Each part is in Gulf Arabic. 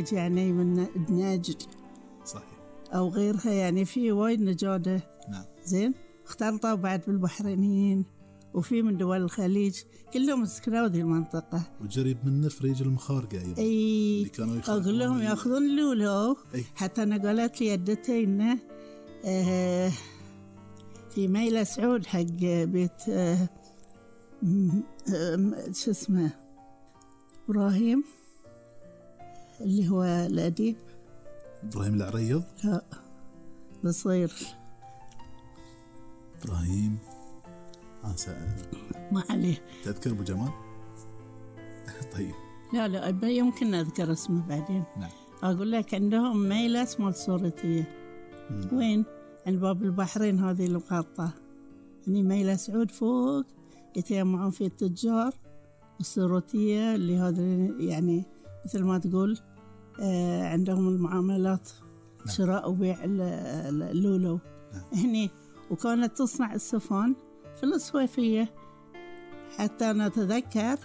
الخليج يعني من نجد صحيح أو غيرها، يعني في وايد نجادة. نعم. زين اختلطوا بعد بالبحرينيين وفي من دول الخليج كلهم سكنوا ذي المنطقة. وجريب من نفريج المخارقة أيضا. اللي كانوا أقول لهم يأخذون لولو. حتى أنا قالت لي يدتي إنه في ميلة سعود حق بيت شو اسمه إبراهيم اللي هو الأديب إبراهيم العريض. لا بصير إبراهيم ما عليه. تذكر أبو جمال؟ طيب لا يمكن أذكر اسمه بعدين. نعم. أقول لك عندهم ميلة اسمها الصورتية. وين؟ عند باب البحرين هذه المقاطعة. يعني ميلة سعود فوق يتجمعون في التجار، والصورتية اللي هذا يعني مثل ما تقول عندهم المعاملات. نعم. شراء وبيع اللولو. نعم. هني وكانت تصنع السفن في الصويفية. حتى أنا أتذكر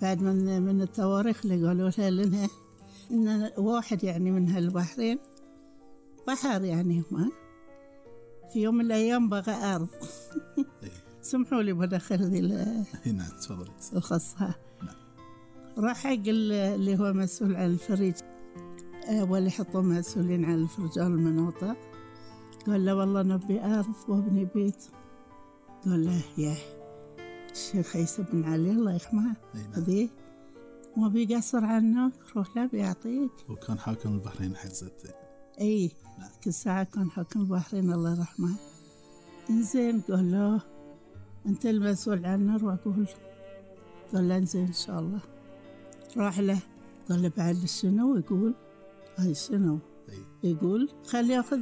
بعد من التواريخ اللي قالوا لنا إن واحد يعني من هالبحرين بحر يعني ما في يوم من الأيام بغى أرض. سمحوا لي بدخل ذي نعم تفضل الخاصة. راح حق اللي هو مسؤول عن الفريج واللي يحطوا مسؤولين عن رجال المناطق. قال له والله نبي أرض وابني بيت. قال له يا الشيخ عيسى بن علي الله يرحمه هذي ما بيقصر عنك، روح له بيعطيك. وكان حاكم البحرين حزت. اي نعم. كل ساعة كان حاكم البحرين الله يرحمه. انزين قال له انت المسؤول عنه روح قول. قال له انزين ان شاء الله. راح له قال له بعد شنو؟ يقول هاي شنو؟ يقول خلي ياخذ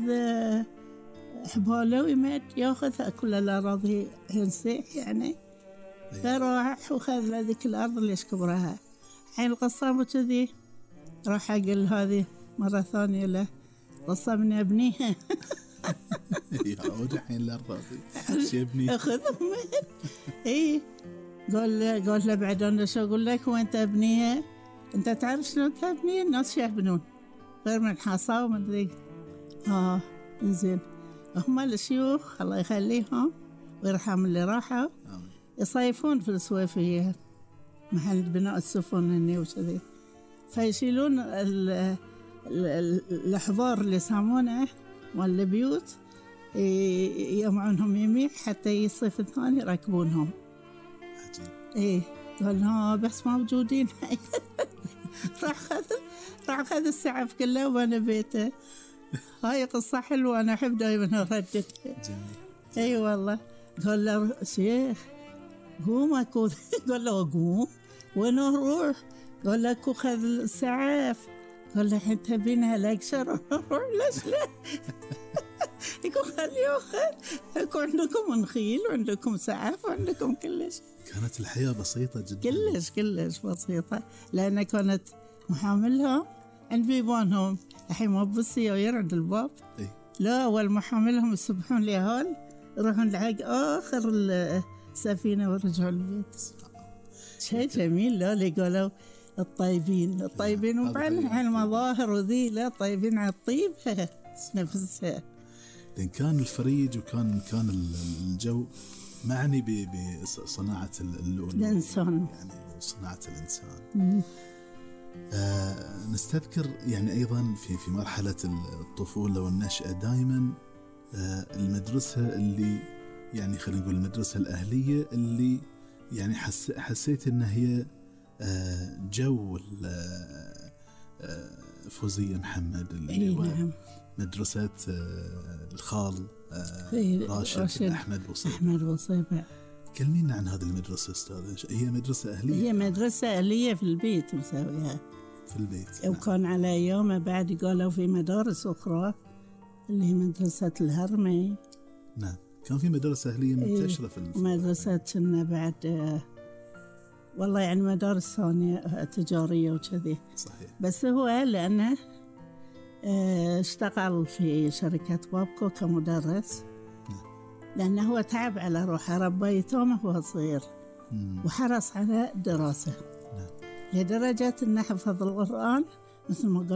حباله ويمد ياخذ كل الأراضي ينسيح يعني. فراح وخذ ذيك الأرض اللي يشكبرها. حين القصام وكذي راح أقول هذه مرة ثانية له قصامني أبنيها. يعود حين الأرض شي أبنيها أخذهم. إيه قال له بعد أنا شو أقول لك وأنت أبنيها؟ أنت تعرف شلون تبني؟ الناس شو يبنون غير من حصى ومن ذيك. إنزين هم الشيوخ الله يخليهم ويرحم اللي راحوا يصيفون في الصويفية محل بناء السفن هني وكذي. فيشيلون الأحضار اللي يسمونه والبيوت يجمعونهم يمين حتى يصيف الثاني يركبونهم. عجيب. إيه قال بس موجودين. راح خذ السعف كله وانا بيته. هاي قصة حلوة أنا أحب دائما أرددها. أي والله. قال له شيخ قوم أكو. قال له قوم وين أروح؟ قال له أكو خذ السعف. قال له الحين تبينها لأكشر أروح ليش لا؟ يقول خليه أخذ. يكون عندكم نخيل وعندكم سعف وعندكم كلش. كانت الحياة بسيطة جدا. كلش بسيطة لأن كانت محاملهم عند بيبانهم. الحين ما بالسيايير عند الباب. لا أول محاملهم يسبحون ليهال يروحون لحق آخر السفينة ورجعوا البيت. شيء جميل. لا اللي قالوا الطيبين وبعدين على المظاهر وذي لا طيبين على الطيب نفسها. لأن كان الفريج وكان الجو معني بصناعة الإنسان يعني صناعة الإنسان. نستذكر يعني أيضا في مرحلة الطفولة والنشأة دائما المدرسة اللي يعني خلينا نقول المدرسة الأهلية اللي يعني حسيت إن هي جو فوزية محمد اللي هو نعم. مدرسة الخال راشد أحمد بوصيبة. كلمينا عن هذه المدرسة أستاذ. هي مدرسة أهلية؟ هي مدرسة أهلية في البيت مسويها في البيت. وكان على أيامه بعد قالوا في مدارس أخرى اللي هي مدرسة الهرمي. نعم كان في مدرسة أهلية منتشرة في مدرسة كنا بعد والله يعني مدارس ثانية تجارية وكذي. صحيح. بس هو لأنه اشتغل في شركة بابكو كمدرس. لأنه هو تعب على روحه ربى يتامه وهو صغير وحرص على دراسة. لدرجة أنه حفظ القرآن مثل ما قال